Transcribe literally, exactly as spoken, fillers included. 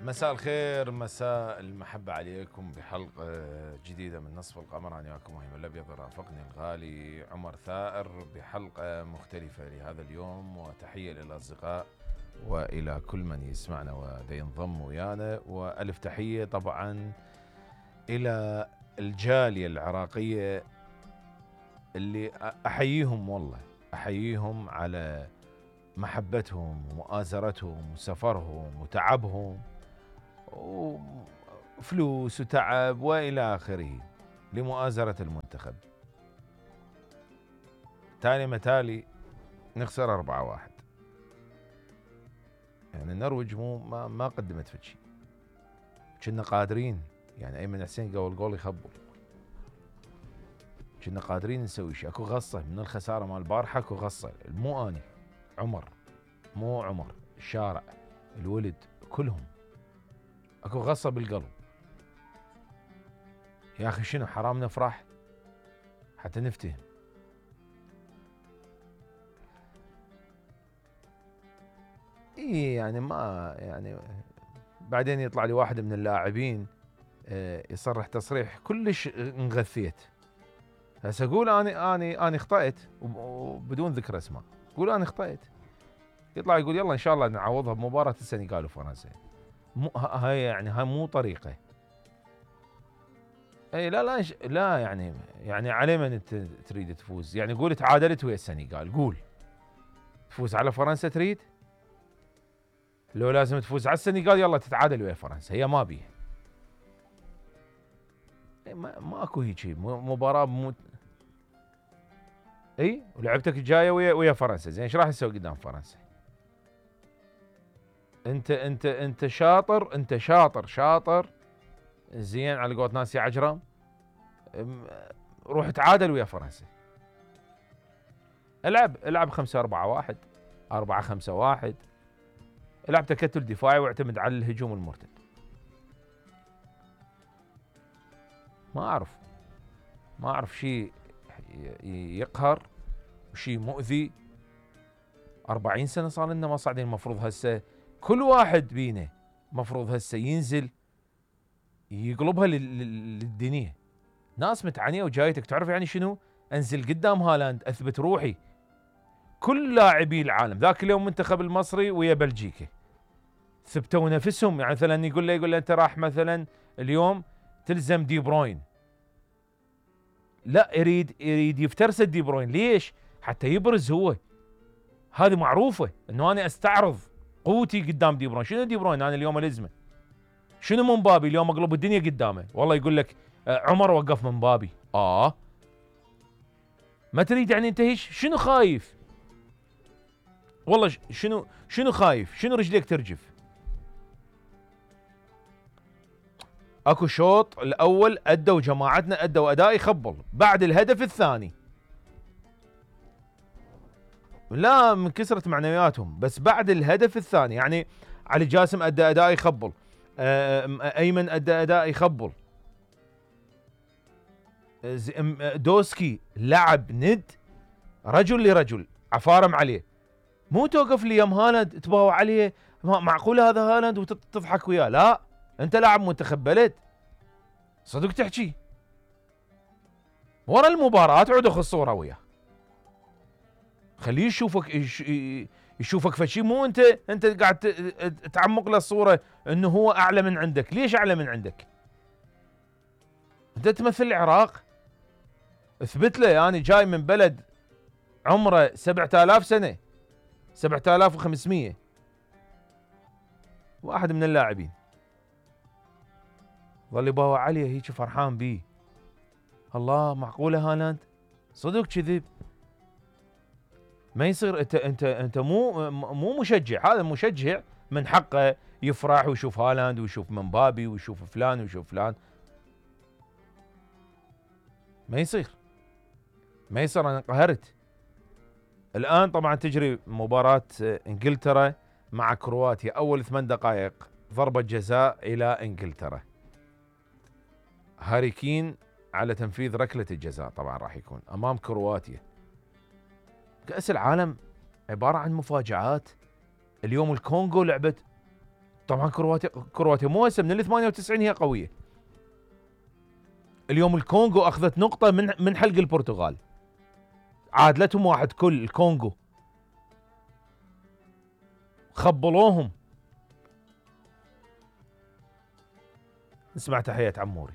مساء الخير، مساء المحبة عليكم بحلقة جديدة من نصف القمر. أنا وياكم وهيم الأبيض، رافقني الغالي عمر ثائر بحلقة مختلفة لهذا اليوم، وتحية للأصدقاء وإلى كل من يسمعنا ودا ينضم ويانا، وألف تحية طبعا إلى الجالية العراقية اللي أحييهم، والله أحييهم على محبتهم ومؤازرتهم وسفرهم وتعبهم وفلوس وتعب وإلى آخره لمؤازرة المنتخب. تالي متالي نخسر أربعة واحد، يعني النرويج مو ما, ما قدمت في شيء، كنا قادرين، يعني أيمن حسين قبل جول يخبل، كنا قادرين نسوي شيء. اكو غصة من الخسارة مال البارحة، اكو غصة، مو أني عمر، مو عمر، الشارع، الولد، كلهم اكو غصة بالقلب. يا اخي شنو حرام نفرح حتى نفتهم. اي يعني ما يعني بعدين يطلع لي واحد من اللاعبين يصرح تصريح كلش انغثيت. هسه اقول اني اني اني اخطأت وبدون ذكر اسماء، قول اني اخطأت، يطلع يقول يلا ان شاء الله نعوضها بمباراة السنغال وفرنسا. مو هاي يعني هاي مو طريقة. اي لا لا لا يعني يعني على من انت تريد تفوز؟ يعني قول تعادلت ويا السنغال، قول تفوز على فرنسا تريد؟ لو لازم تفوز على السنغال يلا تتعادل ويا فرنسا، هي ما بيها. ما ماكو هيك مباراة مو... اي ولعبتك الجاية ويا ويا فرنسا، زين ايش راح تسوي قدام فرنسا؟ انت انت انت شاطر، انت شاطر شاطر زين على قولة ناس يا عجرم، روح تعادل ويا فرنسا. العب العب خمسة أربعة واحد، أربعة خمسة واحد، العب تكتل دفاعي واعتمد على الهجوم المرتد. ما أعرف ما أعرف شيء يقهر وشيء مؤذي. أربعين سنة صار لنا ما صاعدين، المفروض هسه كل واحد بينا مفروض هسه ينزل يقلبها للدنيا. ناس متعنية وجايتك، تعرف يعني شنو؟ انزل قدام هالاند اثبت روحي. كل لاعبي العالم ذاك اليوم المنتخب المصري ويا بلجيكا ثبتوا نفسهم، يعني مثلا يقول له يقول له انت راح مثلا اليوم تلزم دي بروين، لا يريد يريد يفترس دي بروين. ليش؟ حتى يبرز هو. هذه معروفة انه انا استعرض قوتي قدام دي بروين. شنو دي بروين انا اليوم الازمه؟ شنو من بابي اليوم اقلب الدنيا قدامه؟ والله يقول لك عمر وقف من بابي. اه ما تريد يعني انت هيش؟ شنو خايف؟ والله شنو شنو خايف؟ شنو رجليك ترجف؟ اكو شوط الاول ادوا جماعتنا ادوا اداء يخبل، بعد الهدف الثاني لا من كسرة معنوياتهم، بس بعد الهدف الثاني يعني علي جاسم ادى اداء يخبل، ايمن ادى اداء يخبل، دوسكي لعب ند رجل لرجل، عفارم عليه. مو توقف لي يم هالاند تباوع عليه، معقول هذا هالاند وتضحك وياه؟ لا انت لاعب منتخب بلد، صدق تحكي ورا المباراة عود اخذ صورة وياه، خليه يشوفك يشوفك فشي، مو انت انت قاعد تعمق له الصورة انه هو اعلى من عندك. ليش اعلى من عندك؟ انت تمثل العراق، اثبت له يعني جاي من بلد عمره سبعة آلاف سنة، سبعة آلاف وخمسمية، واحد من اللاعبين ظل يباوع عليه هيك فرحان بيه. الله معقولة هالاند؟ صدق كذب؟ ما يصير. انت انت انت مو مو مشجع، هذا مشجع من حقه يفرح ويشوف هالاند ويشوف منبابي ويشوف فلان ويشوف فلان. ما يصير ما يصير. انا انقهرت. الان طبعا تجري مباراة انجلترا مع كرواتيا، اول ثمان دقائق ضربة جزاء الى انجلترا، هاري كين على تنفيذ ركلة الجزاء طبعا راح يكون امام كرواتيا. كأس العالم عبارة عن مفاجآت. اليوم الكونغو لعبت طبعا كرواتيا كرواتيا مو هسه من ال ثمانية وتسعين هي قويه. اليوم الكونغو اخذت نقطه من من حلق البرتغال، عادلتهم واحد كل الكونغو، خبلوهم. نسمع تحية عموري.